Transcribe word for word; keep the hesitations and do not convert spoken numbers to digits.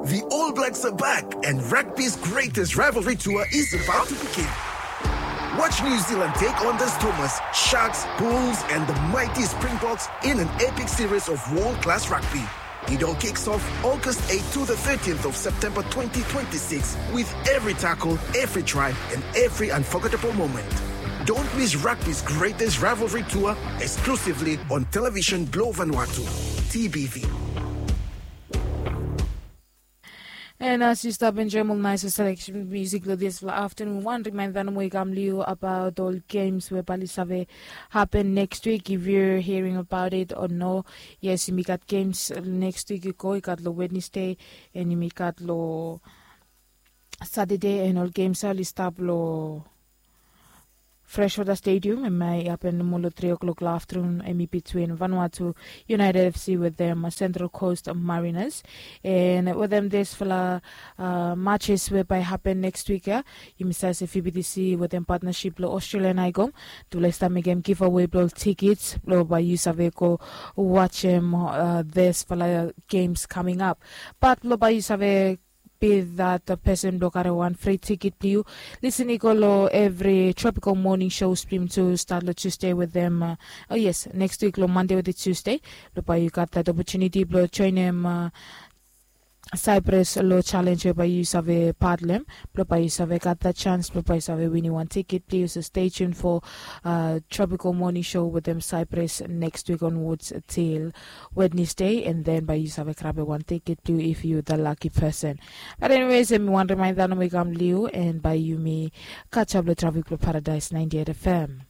The All Blacks are back, and rugby's greatest rivalry tour is about to begin. Watch New Zealand take on the Stormers, Sharks, Bulls, and the mighty Springboks in an epic series of world class rugby. It all kicks off August eighth to the thirteenth of September twenty twenty-six, with every tackle, every try, and every unforgettable moment. Don't miss rugby's greatest rivalry tour, exclusively on television blong Vanuatu, T B V. And as you stop enjoying all nice selection music lo this afternoon, one reminder nomo i kam liu about all games we bali save happen next week. If you're hearing about it or no, yes, yumi gat games next week. I go, i gat lo Wednesday and yumi gat lo Saturday, and all games ali stap lo Freshwater Stadium, and my happen molo three o'clock lo afternoon, and between Vanuatu United F C with them uh, Central Coast Mariners. And with them this fella uh, matches whereby happen next week, yeah. Yumi save se F B T C with them partnership lo Australian Icom. Tule sta make them give away blo tickets blo by you save go watch them uh, this fella games coming up. But blo by you save be that person blo kare wan free ticket blo you. Listen i go lo every Tropical Morning Show stream to start lo Tuesday with them. Uh, oh yes, next week lo Monday with the Tuesday. Lo by you got that opportunity blo join them uh, Cyprus lo challenge whereby you save part lem. Blo by you save got that chance. Blo by you save win you one ticket. Please stay tuned for uh, Tropical Morning Show with them Cyprus next week onwards till Wednesday, and then by you save grab one ticket too if you the lucky person. But anyways, mi wan reminder no mi kam liu and by you mi catch up lo traffic lo Paradise ninety-eight F M.